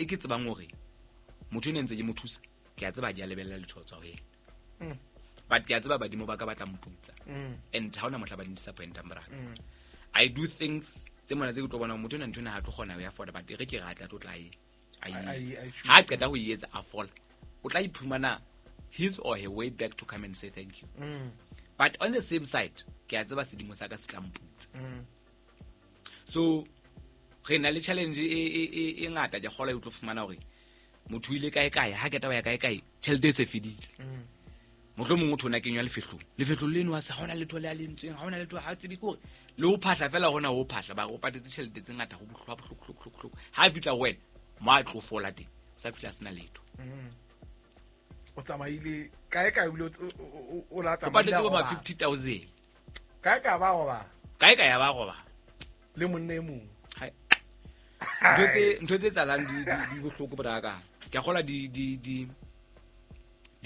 ke tsebang hore motho ene ntse ke mo thusa, ke a tseba di a lebella letho tswa ho yena. But ke a tseba badimo ba ka batla mputsa. And ha ona mohla ba disappointang bra. I do things tse mona tse ke tlo bona motho ena ntho ena ha tlo kgona ho ya afford, but e re ke re a tla tlo tla e a e etsa. Ha qeta ho e etsa a fola, o tla iphumana his or her way back to come and say thank you. But on the same side, ke a tseba sedimo sa ka se tla mputsa. So re na le challenge e ngata ke kgola e tlo fumana hore motho ile kae kae ha ke taba ya kae kae tjhelete e se fedile. Mohlomong motho ona kenywa lefehlong. Lefehlong leno ha sa hona letho le a lentsweng, ha hona letho ha tsebe ke hore le ho phahla fela hona ho phahla ba o patetse tjhelete tse ngata ho bohlwa bohloko. Ha fitla ho wena mo a tlo fola teng, o sa fitla sena letho. O tsamaile kae kae o la tsamaile. O patetse bo ma 50,000. Kae kae ba roba. Kae kae ba roba. Le monna e mong. Hai. Ntho tse tsalang di bohloko braka. Ke a kgola di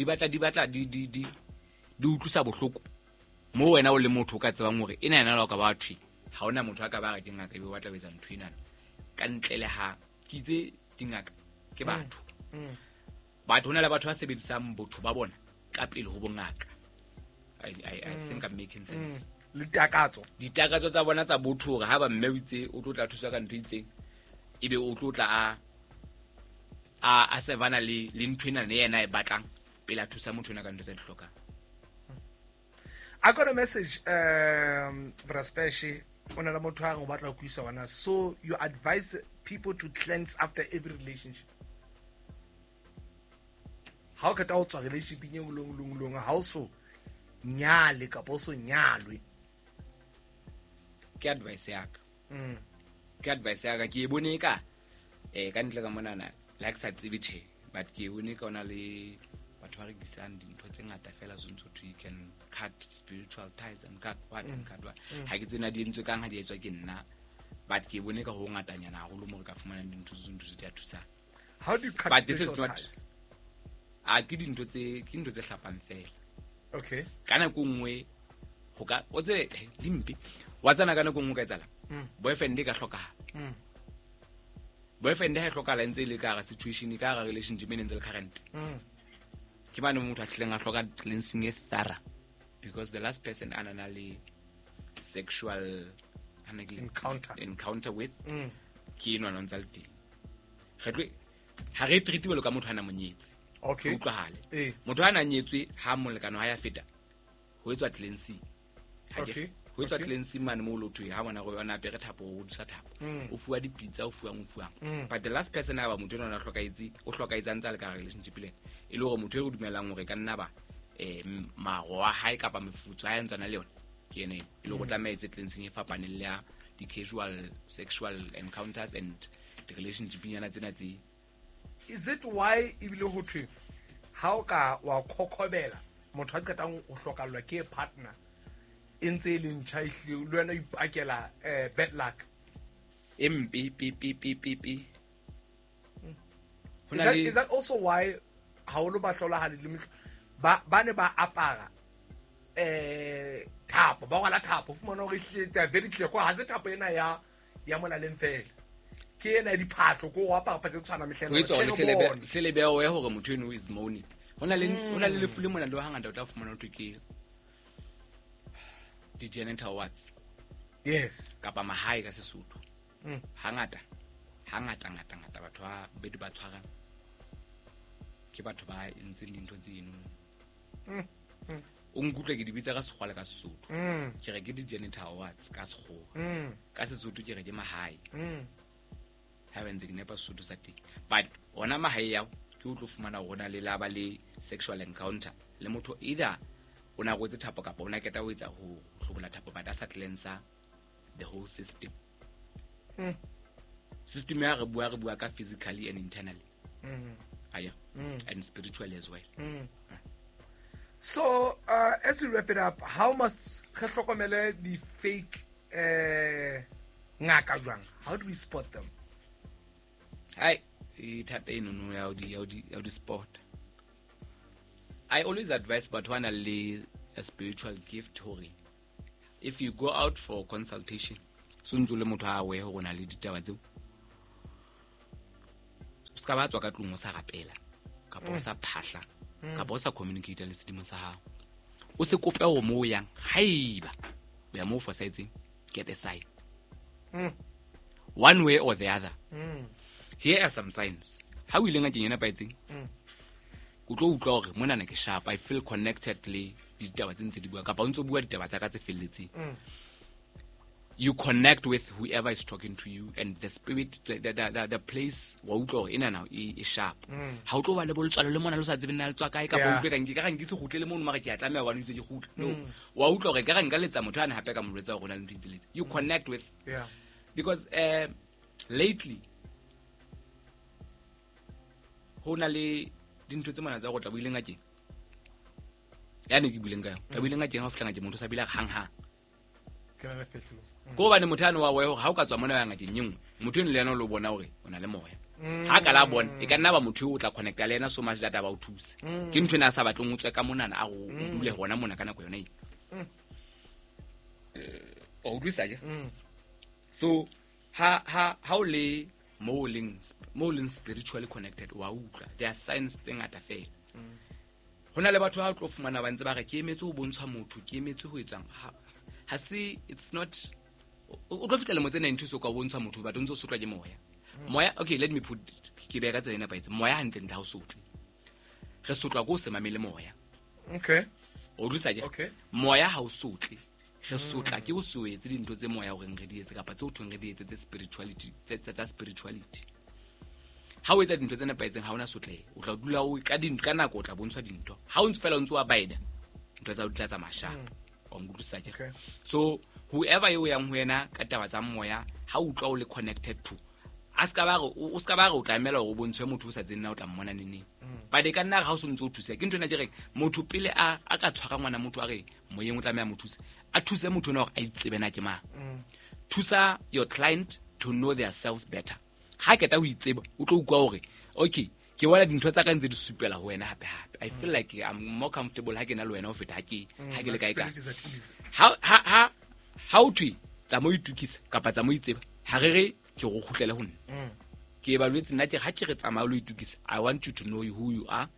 batla di utlwisa bohloko. Mo wena o le motho o ka tsebang hore ena yena la ka ba thwe. Ha ona motho a ka ba re ke ngaka ebe o batla ho etsa ntho ena. Ka ntle le ha ke itse dingaka ke batho. Batho hona le batho ba sebedisang botho ba bona ka pele ho bongaka. I think I'm making sense. Le takatso. Ditakatso tsa bona tsa botho hore ha ba mme o itse o tlo tla thusa ka ntho itseng ebe o tlo tla a sevana le ntho ena le yena e batlang pele a thusa motho ena ka ntho tsa di hlokang. I got a message Braspeshi o na le motho a re o batla ho kuisa wena. So you advise people to cleanse after every relationship. How ka ta o tswa relationship e long ha o so nyale kapa o so nyalwe. Ke advice ya ka. Ke advice ya ka ke e bone ka ka ntle ka monana like sa tsebe tjhe, but ke e bone ka ona le batho ba rekisang dintho tse ngata fela so ntho you can cut spiritual ties and cut what and cut what. Ha ke tsena di entswe kang ha di etswa ke nna, but ke e bone ka ho ngatanyana haholo mo re ka fumanang dintho tse ntho tse di a thusang. How do you cut but this is spiritual not ties? A ke dintho tse hlapang fela. Okay. Ka nako nngwe ho ka o tse dimpe wa tsana ka nako nngwe ka etsala. Boyfriend e ka hlokahala. Boyfriend ha e hlokahala ntse le ka hara situation ka hara relationship e ntse le current. Ke mane motho a tlileng a hloka cleansing e thorough because the last person a nana le sexual encounter with ke enwa no ntse le teng. Re tlo ha re treat jwalo ka motho a na monyetse. Okay. Utlwahale. Motho a na nyetswe ha molekano ha ya feta ho etswa cleansing. Okay. Ho etswa cleansing mane mo lotho ha bona go yona apere thapo o dusa thapo. O fuwa dipitsa o fuwang. But the last person a ba motho ena o hlokaetse o hlokaetse ntse le ka relationship le. E le hore motho e re dumelang hore ka nna ba maro a hae kapa mefutso a ntsana le yona ke ene e le go tlameha etse cleansing e fapaneng le ya di casual sexual encounters and the relationship nyana tsena tse. Is it why ebile ho thwe ha o ka wa khokhobela motho a qetang ho hlokallwa ke partner e ntse e le ntjha ehlile le wena o ipakela bad luck e mpe pe pe pe pe pe. Is that also why haholo ba hlolahale le ba ne ba apara thapo ba rwala thapo fumana hore ehlile they are very clear kwa ha se thapo ena ya molaleng fela ke ena diphahlo ko o apara phatse tshwana mehleng hlele beo ya hore motho eno is moaning. Hona le lefu le mona le hangata o tla fumana hore ke di genital warts. Yes. Kapa mahae ka Sesotho. Hangata ngata batho ba bedi ba tshwarang ke batho ba entseng dintho tseno. O nkutlwe ke di bitsa ka Sekgowa le ka Sesotho. Ke re ke di genital warts ka Sekgowa. Ka Sesotho ke re ke mahae. Ha ba ntse ke nepa Sesotho sa teng. But ona mahae ao ke o tlo fumana hore na le la ba le sexual encounter le motho either o na rwetse thapo kapa o na keta ho etsa ho hlobola thapo but a sa cleansa the whole system. System ya re bua ka physically and internally. Aya. And spiritually as well. So as we wrap it up, how must re hlokomele the fake ngaka jwang? How do we spot them? Hai, e thata eno no ya di spot. I always advise batho ba nang le a spiritual gift hore if you go out for consultation so ntse le motho a aware hore na le ditaba tseo. ska ba tswa ka tlung o sa rapela kapa o sa phahla kapa o sa communicate le sedimo sa hao. O se kope hore mo o yang, haeba o ya mo o fosahetseng, get a sign. One way or the other. Here are some signs. Ha o ile ngakeng e nepahetseng, o tlo utlwa hore monana ke sharp, I feel connected le ditaba tse ntse di bua, kapa o ntso bua ditaba tsa ka tse felletseng. You connect with whoever is talking to you and the spirit, the place wa utlwa hore enana e sharp. Ha o tlo ba le boletswalo le mona le sa tsebe nna le tswa kae, kapa o utlwe ka nke ka re nke se kgutle le mono, mara ke a tlameha hobane o itse ke kgutle. No, wa utlwa hore ka re nka letsa motho ane hape ka mo jwetsa hore ho na le ntho e itseng. You connect with. Because lately ho na le dintho tse mona tsa go tla buileng ngakeng. Ya ne ke buileng ka yona. Tla buileng ngakeng ha o fihla ngakeng motho o sa bile hang hang. Ke na le fehlo. Ko hobane motho ane wa hore ha o ka tswa mona ya ngakeng e nngwe, motho eno le yena o lo bona hore o na le moya. Ha ka la bona, e ka nna ba motho eo o tla connecta le yena so much that a ba o thuse. Ke ntho ena a sa batleng o tswe ka monana a go o dule hona mona ka nako yona eo. O utlwisa ke? So ha o le mo leng spiritually connected, wa utlwa. There are signs tse ngata fela. Ho na le batho ba tlo fumana ba ntse ba re ke emetse ho bontshwa motho, ke emetse ho etsang. Ha se, it's not, o tlo fihla lemo tse 92 so ka bontshwa motho, but o ntso sotlwa ke moya. Moya, okay, let me put it, ke beha ka tsela e nepahetseng. Moya hantle ntle ha o sotle. Re sotlwa ke ho se mamele moya. Okay. O utlwisa ke? Okay. Moya ha o sotle. Re sotla ke ho se etse dintho tse moya o reng re di etse kapa tse o thweng re di etse tse spirituality, tsa spirituality. Ha o etsa dintho tse nepahetseng ha ona sotlehe. O tla dula o ka dintho ka nako o tla bontshwa dintho. Ha o ntse fela o ntse wa baida, ntho tsa o di tla tsamaya sharp. Wa nkutlwisisa ke? Okay. So whoever eo yang ho yena ka taba tsa moya, ha o utlwa o le connected to, a ska ba re o ska ba re o tla emela hore o bontshwe motho o sa tsebeng na o tla mmona neneng. But e ka nna re ha o so ntse o thusa, ke ntho ena ke reng motho pele a ka tshwara ngwana motho a re moyeng o tlameha mo thuse, a thuse motho ona hore a itsebe na ke mang. Thusa your client to know their selves better. Ha keta ho itseba, o tlo utlwa hore okay, ke bona dintho tsa ka ntse di supela ho wena hape hape. I feel like I'm more comfortable ha ke na le wena ho feta ha ke le kae kae. Ha o thwe tsa mo itukisa kapa tsa mo itseba, ha re re ke go kgutlele ho nna. Ke evaluate nna ke ha ke re tsamaya lo itukisa, I want you to know who you are.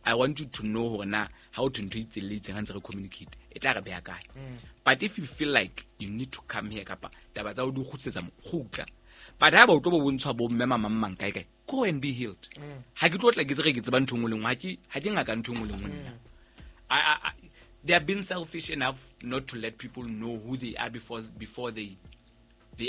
I want you to know hore na ha o thwe ntho e itseng le itseng ha ntse re communicate, e tla re beha kae. But if you feel like you need to come here kapa taba tsa o di kgutlisetsa mo, kgutla. But ha ba o tlo bo bontshwa bo mme mama mang kae kae, go and be healed. Ha ke tlo tla ke tse re ke tseba ntho e nngwe le nngwe, ha ke ngaka ntho e nngwe le nngwe nna. They have been selfish enough not to let people know who they are before they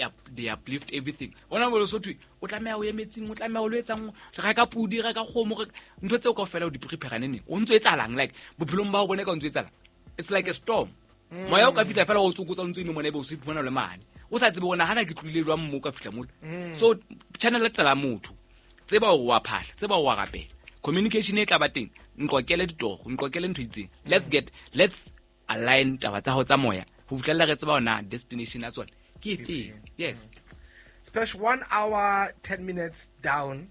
uplift everything. Ona mo so thwe o tlameha o ye metsing, o tlameha o lo etsang, re ka pudi, re ka kgomo, ntho tseo kaofela o di prepare neng. O ntso etsahalang like bophelong ba o bone ka o ntso etsahalang. It's like a storm. Moya o ka fihla fela o tsokotsa o ntso eme mona ebe o se iphumana le mane. O sa tsebe hore hana ke tlohile jwang mo ka fihla mole. So channel tsela motho. Tseba hore wa phahla, tseba hore wa rapela. Communication e tla ba teng. Nqokele ditoro, nqokele ntho e itseng. Let's align taba tsa hao tsa moya. Ho fihlela re tseba hore na destination ya tsona ke efe. Yes. Special 1 hour 10 minutes down.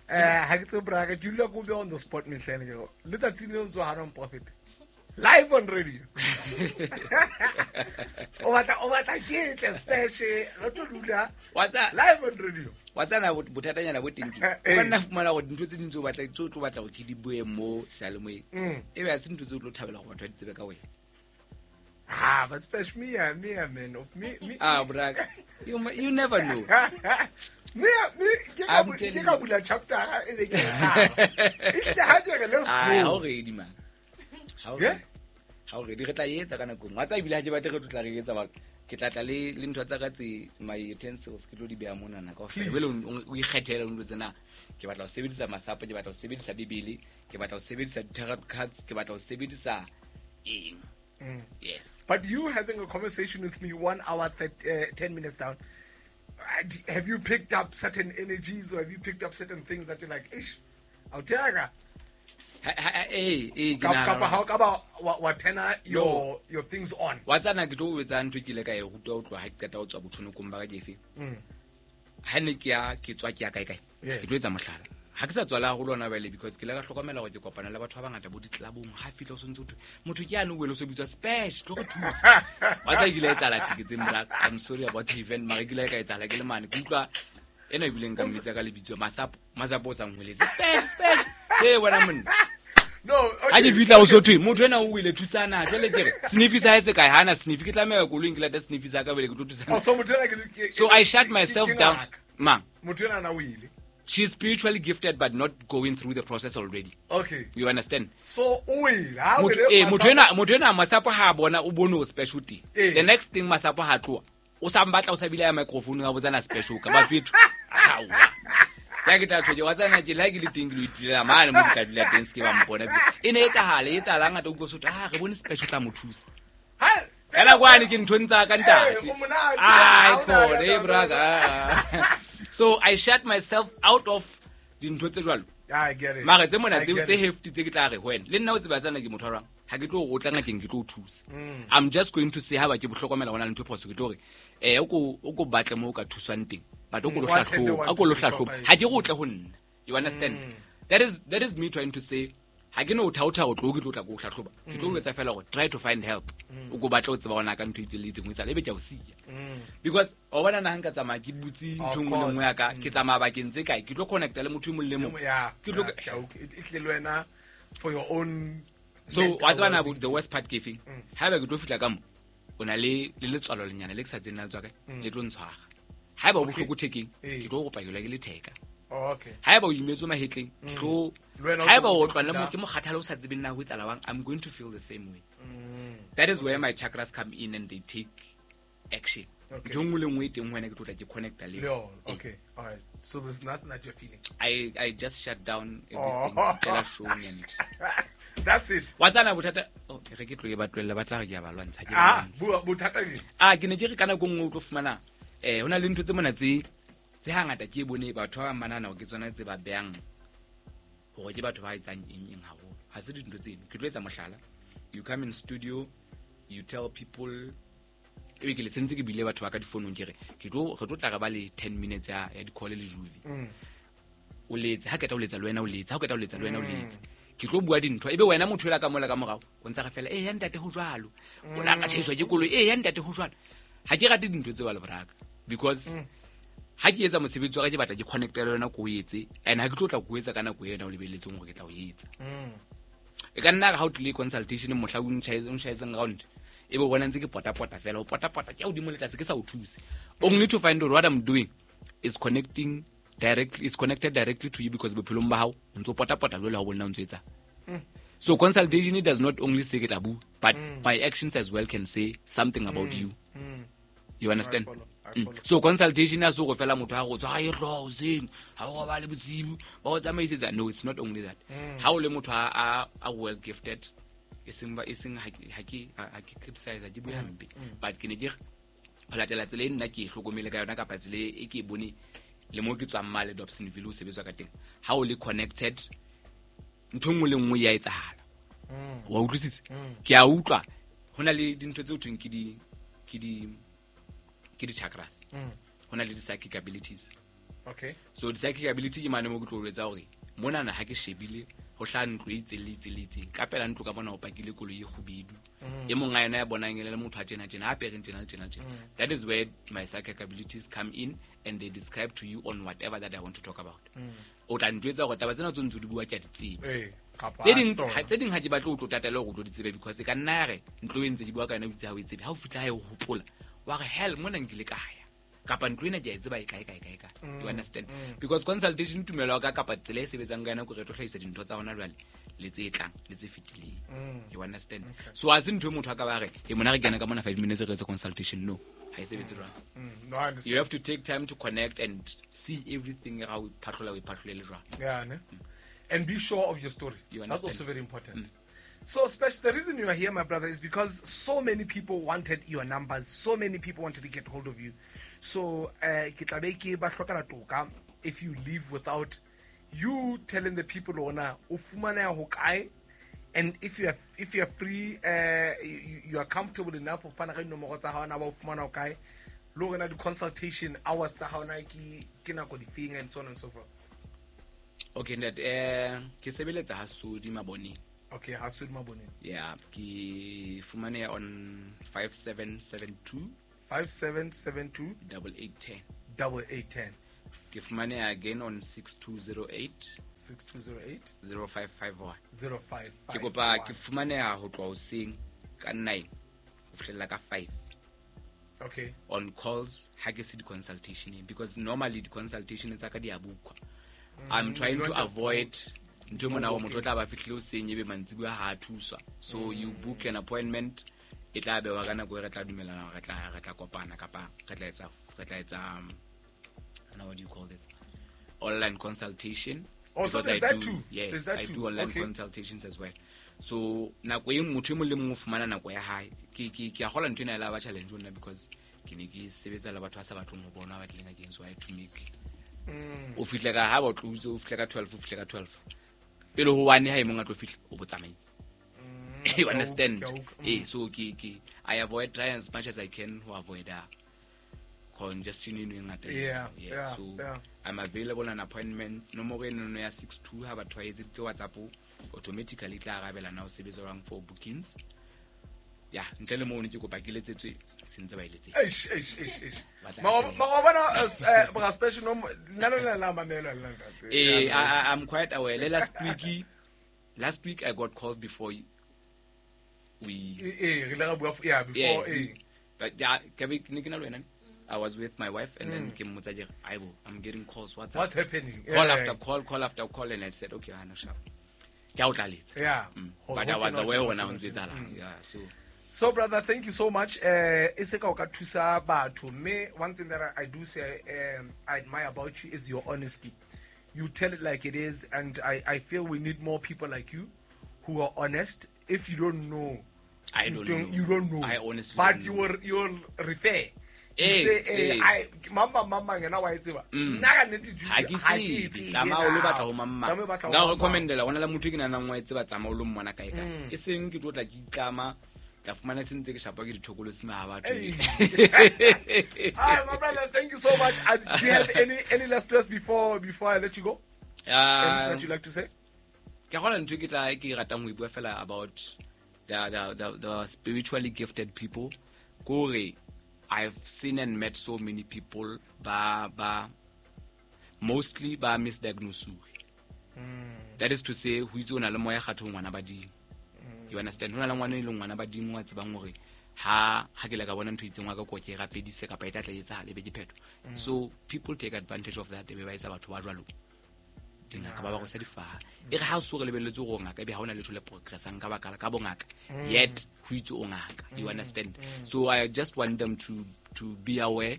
Ha ke tsebe bra ka ke dula ko be on the spot mehleng ke go. Letsatsi le ntso ha prophet. Live on radio. O batla ke tle special re tlo dula. Live on radio. Wa tsana bothatanyana bo teng ke. O ka nna fumana hore dintho tse ding tseo batla tse o tlo batla hore ke di bue mo seyalemoyeng. E be ha se ntho tseo o tlo thabela hore batho ba di tsebe ka wena. Ah, but special me man. Of me. Ah, bra. You never know. Me ke ka bula chapter e be ke tshaba. E hle ha ke re let's go. Ah, ha o ready man. Ha o ready re tla etsa ka nako nngwe. Wa tseba ebile ha ke batle re tlo tla re etsa ba ke tla tla le ntho tsa ka tse my utensils ke tlo di beha monana kaofela. Jwale o ikgethele o ntlo tsena. Ke batla ho sebedisa masapo, ke batla ho sebedisa Bibele, ke batla ho sebedisa tarot cards, ke batla ho sebedisa eng. Yes. But you having a conversation with me 1 hour 10 minutes down, have you picked up certain energies or have you picked up certain things that you're like, ish, I'll tell you. Kapa ha o ka ba wa turn your things on. Wa tsana ke tlo etsa ntho ke ile ka e rutwa ho tloha ha ke qeta ho tswa bothonokong ba ka ke efe. Ha ne ke ya ke tswa ke ya kae kae. Ke tlo etsa mohlala. Ha ke sa tswala haholo hona jwale because ke ile ka hlokomela hore ke kopana le batho ba bangata bo ditlabong. Ha fihla o sontse ho thwe motho ke yane o wele o so bitswa Spesh, tlo re thusa. Wa tseba ke ile etsahala tiketseng bra. I'm sorry about the event, mara ke ile ka etsahala ke le mane. Ke utlwa ena ebileng ka mmitsa ka lebitso Masapo. Masapo o sa ngweletse spesh e wena monna. No, okay. Ha ke fihla o so thwe motho ena o ile thusana jwale ke re snifi sa hae se kae hana snifi ke tlameha koloing ke lata snifi sa ka bele ke tlo thusana. Oh, so motho ena ke So I shut myself down. Ma motho ena na o ile. She's spiritually gifted but not going through the process already. Okay. You understand? So o ile motho ena Masapo ha bona o bone o special teng. The next thing Masapo ha tloha o sa mbatla o sa bile ya microphone ga botsana special ka ba fetho. Ha ya ke tla tjho wa tsana ke la ke le teng ke lo itulela mane mo ke tla dula teng se ke ba mpona. E ne etsahala etsahala ngata o utlwa sotho ah re bone special tla mo thusa. Ha ela kwane ke ntho ntsa ka ntate. Ai khone brother. So I shut myself out of dintho tse jwalo. I get it. Mara tse mona tse hefty tse ke tla re ho wena. Le nna o tseba tsana ke motho wa rang. Ha ke tlo o tla ngakeng ke tlo o thusa. I'm just going to say ha ba ke bohlokomela hona le ntho phoso ke tlo re o ko batle mo o ka thuswang teng. But o ko lo hlahloba ha ke go tle ho nna. You understand? That is me trying to say ha ke no thaotha o tlo ke tlo tla go hlahloba. Ke tlo etsa fela gore try to find help. O go batla o tseba hona ka ntho itse le itseng o itsa lebe ke a o siya. Because o bona na hanka tsamaya ke butse ntho nngwe le nngwe ya ka ke tsamaya bakeng tse kae ke tlo connecta le motho e mong le mong. Ke tlo e tle le wena for your own. So wa tseba na the worst part ke feng? Haeba ke tlo fihla ka mo o na le letswalo lenyana le ke sa tseng na tswa kae le tlo ntshwara. Haeba o bohloko thekeng ke tlo go pakelwa ke letheka. Okay. Haeba o imetswe mahetleng ke tlo haeba o tlwa le mo ke mokgathala o sa tsebeng na ho etsahala wang, I'm going to feel the same way. That is where my chakras come in and they take action. Ntho nngwe le nngwe e teng ho wena ke tlo tla ke connecta le yona. Okay. All right. So there's nothing that you're feeling. I just shut down everything. Tela show and that's it. Wa tsana bothata oh re ke tlo e ba tlohella ba tla re ke a ba lwantsha ke ba lwantsha. Bothata ke ke ne ke re kana go nngwe o tlo fumana hona le ntho tse mona tse hangata ke bone batho ba manana ke tsona tse ba beang hore ke batho ba etsang eng haholo. Ha se dintho tseno. Ke tlo etsa mohlala. You come in studio, you tell people ebe ke le sentse ke bile batho ba ka difonong ke re ke tlo re tlo tla re ba le 10 minutes ya di-call le juvi. O letse ha keta o letsa le wena o letse ha keta o letsa le wena o letse. Ke tlo bua dintho ebe wena motho ela ka mola ka morao o ntsa re fela ya ntate ho jwalo. O la ka tjhaiswa ke koloi ya ntate ho jwalo. Ha ke rate dintho tse ba le boraka because ha ke etsa mosebetsi wa ka ke batla ke connecta le yona ko o etse and ha ke tlo tla ko etsa ka nako ena o lebelletseng hore ke tla o etsa. E ka nna re ha o tlile consultation mohla o ntjhaetseng round ebe o bona ntse ke potapota fela o potapota ke hodimo le tlase ke sa o thuse. Only to find out what I'm doing is connecting directly is connected directly to you because bophelong ba hao o ntso potapota jwale ha o bona o ntso etsa. So consultation does not only say ke tla bua but my actions as well can say something about you. You understand? So consultation ya so go fela motho ha go tswa e tlo hoseng ha o ba le bosibu ba o tsamaisetsa. No, it's not only that. Ha o le motho a well gifted e seng ha ke criticize ke bua hampe but ke ne ke ho latela tsela e nna ke e hlokomele ka yona kapa tsela e ke e bone le mo ke tswang male Dobsonville o sebetswa ka teng. Ha o le connected ntho nngwe le nngwe ya etsahala. Wa utlwisisa? Ke a utlwa hona le dintho tse o thweng ke di chakras. Hona le di psychic abilities. Okay. So di psychic ability ke mane mo ke tlo etsa hore mona na ha ke shebile ho hla ntlo e itse le itse le itse ka pela ntlo ka bona o pakile koloi e kgubedu e mong a yona ya bonang le motho a tjena tjena a pereng tjena tjena tjena. That is where my psychic abilities come in and they describe to you on whatever that I want to talk about. O tla ntwetsa hore taba tsena tse ntse di bua ke a di tseba. Tse ding ha ke batle o tlo tatela hore o tlo di tsebe because ka nna ya re ntlo e ntse di bua ka yona o itse ha o e tsebe ha o fihla ha e hopola wa re hell mona nkile ka ya kapa ntlo ena ke a e tseba e kae kae kae kae. You understand? Because consultation tumelo ka kapa tsela e sebetsang ka yona ko re tlo hlahisa dintho tsa hona jwale le tse tlang le tse fetileng. You understand? So ha se ntho e motho a ka ba re e mona re kena ka mona 5 minutes re etse consultation. No, ha e sebetse jwalo. No, I understand. You have to take time to connect and see everything ha o phatlola o iphatlolele jwang. Yeah, ne? And be sure of your story. You That's also very important. So, Spesh, the reason you are here, my brother, is because so many people wanted your numbers. So many people wanted to get hold of you. So, ke tla be ke ba hlokela toka if you leave without you telling the people ona o fumaneha ho kae, and if you are free, you are comfortable enough ho fana ka dinomoro tsa hao na ba o fumana ho kae, le hore na di-consultation hours tsa hao na ke nako difeng and so on and so forth. Okay, ntate, ke sebeletsa ha Sodi Maboneng. Okay, ha Sodi Maboneng. Yeah, ke fumaneha on 5772 5772 8810. 8810. Ke fumaneha again on 6208 6208 0551. 05. Ke kopa ke fumaneha ho tloha hoseng ka 9 ho fihlella ka 5 Okay. on calls ha ke se di-consultationeng, because normally di-consultation tsa ka di a bookwa. I'm trying You to don't just avoid ntho e mona No hore motho o tla ba fihlile hoseng ebe mantsibuya ha a thuswa. So you book an appointment, e tla bewa ka nako e re tla dumellana hore re tla kopana kapa re tla etsa I don't know, what do you call this, online consultation. Oh, so Because there's I that do, too. Yes, There's that I too. do online consultations as well. So nako e motho e mong le mong o fumana nako ya hae. Ke a kgolwa ntho ena e la ba challenge ho nna, because ke ne ke sebetsa le batho ba sa batleng ho bona, ba tlileng ngakeng. So I had to make o fihle ka ha ba o tlositse, o fihle ka 12, o fihle ka 12 pele ho one, ha e mong a tlo fihla o bo tsamaile. You understand? Ke a utlwa. Eh, so ke I avoid, try as much as I can ho avoid congestion eno e ngata eno. Yes, so I'm available on appointments. Nomoro eno ya 62, ha batho ba etseditse WhatsApp, automatically e tla arabela na o sebetsa jwang for bookings. Ya, ntle le mono ke kopa ke letsetswe se ntse ba e letsetsa. Eish, eish, eish, eish. Batla Mara wa bona, bra Special, no, nna le lona la mamela le ntate. Eh, I'm quite aware. Le last week I got calls before we Eh, re ile ra bua yeah, before. Yes, Eh. but yeah, ke be ne ke na le wena. I was with my wife and then ke mmotsa ke re, "Aibo, I'm getting calls. What's up?" What's happening? Call after call, call after call, and I said, "Okay, hana sharp. Ke a o tlaletsa." Hore But I ho was tjena, ho aware tjena, hona ho ho ntso tjena. etsahalang. Yeah, so So brother, thank you so much. E se ka o ka thusa batho. Mme one thing that I do say I admire about you is your honesty. You tell it like it is, and I feel we need more people like you who are honest. If you don't know, I you don't know. You don't know. I honestly But don't you know. will refer. You say, Eh. I mama mama yena wa e tseba. Nna ka nnete, Judy, Ha ke ha ke e tsebe. tsebe Tsamaya o lo na. batla ho mamma. Tsamaya o batla ho Nka o mamma. recommendela hona le motho e ke nahanang wa e tseba, tsamaya o lo mmona kae kae. E seng ke tlo tla ke itlama, tla fumana se ntse ke shapa ke dithokolosi ha batho. Hey. All right, my brothers, thank you so much. Do you have any last words before I let you go? Anything that you like to say? Ke kgola ntho e ke tla ke ratang ho e bua fela about the spiritually gifted people, kore I've seen and met so many people ba mostly ba misdiagnose. That is to say, ho itse o na le moya kgatho ngwana badimo. You understand? Ho na le ngwana e leng ngwana badimo wa tsebang hore ha ke le ka bona ntho e itseng wa ka ko ke e rapedise kapa e tla tla etsahala, e be ke phetho. So people take advantage of that, e be ba etsa batho ba jwalo dingaka, ba rwesa difaha. E re ha o so re lebelletse hore o ngaka, ebe ha hona letho le progressang ka baka la ka bongaka, yet ho itse o ngaka. You understand? So I just want them to be aware,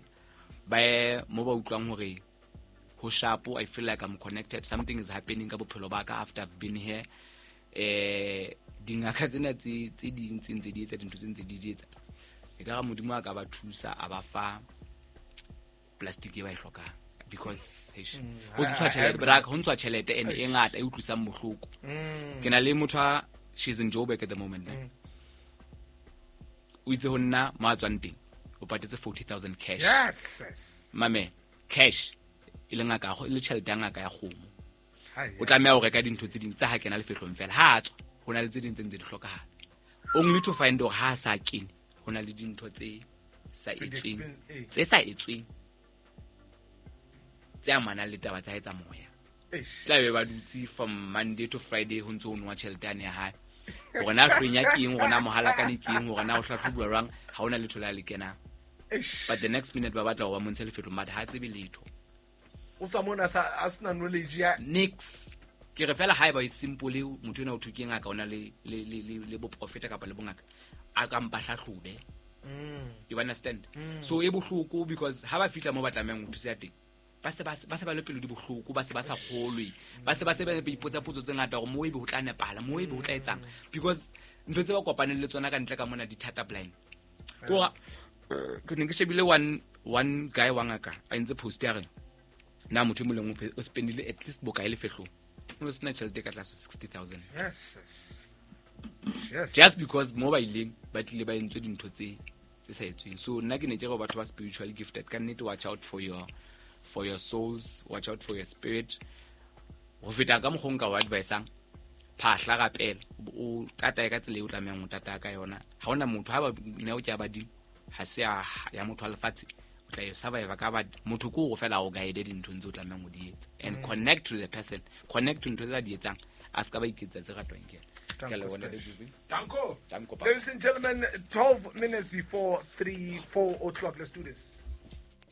ba ye mo ba utlwang hore ho sharp, I feel like I'm connected, something is happening ka bophelo ba ka after I've been here. Dingaka tsena tse ding tse ntse di etsa dintho tse ntse di di etsa, e ka re Modimo a ka ba thusa, a ba fa plastic e ba e hlokang, because eish, ho ntshwa tjhelete, bra, ho ntshwa tjhelete and e ngata e utlwisang bohloko. Ke na le motho a, she's in Joburg at the moment, ne? O itse ho nna mo a tswang teng o patetse 40,000 cash. Mame, cash, e le ngaka e le tjhelete ya ngaka ya kgomo. Hai, O tlameha ho reka dintho tse ding tsa ha kena lefehlong fela, ha a tswa ho na le tse ding tse ntse di hlokahala, only to find hore ha a sa kene ho na le dintho tse sa Tse di etsweng, expen- tse sa etsweng, tse amanang le taba tsa hae tsa moya. Eish. Tla be ba dutse from Monday to Friday ho ntse ho nowa tjhelete yane ya hae, hore na hlwenya ke eng, hore na mohalakane ke eng, hore na o hlahlobuwa jwang, ha hona letho le a le kenang. Eish. But the next minute ba batla hore ba montshe lefehlong, but ha a tsebe letho. O tswa mona a sena knowledge ya Nix. Ke re fela haeba e simple, motho ena o thwe ke ngaka, o na le boprofeta kapa le bongaka, a ka mpa hlahlobe. You understand? So e bohloko, because ha ba fihla mo ba tlamehang ho thusa teng, ba se ba le pelo di bohloko, ba se ba sa kgolwe, ba se ba ipotsa potso tse ngata hore mo ebe ho tla nepahala, mo ebe ho tla etsang, because ntho tse ba kopaneng le tsona ka ntle ka mona di thata blind. Kora ke ne ke shebile one guy wa ngaka a entse post ya re na motho e mong le mong o spendile at least bokae lefehlong, o sena tjhelete e ka tlase ho 60,000. Just because mo ba ileng ba tlile ba entswe dintho tse sa etsweng. So nna ke ne ke re batho ba spiritually gifted, ka nnete, watch out for your souls, watch out for your spirit. Ho feta ka mokgwa o nka o advisang, phahla, rapela, o tatae ka tsela eo o tlamehang ho tataya ka yona. Ha hona motho ha ba neo ke ya badimo, ha se ya motho wa lefatshe. O tla e survive ka ba motho ko go fela o guide dinthong tse o tlamehang go di etsa and connect to the person, connect to ntho tse a di etsang, a se ka ba iketsa tse ratwang ke ena. Ke a leboha, Ntate Dubi. Danko. Danko, Papa. Ladies and gentlemen, 12 minutes before 3, 4 o'clock. Let's do this.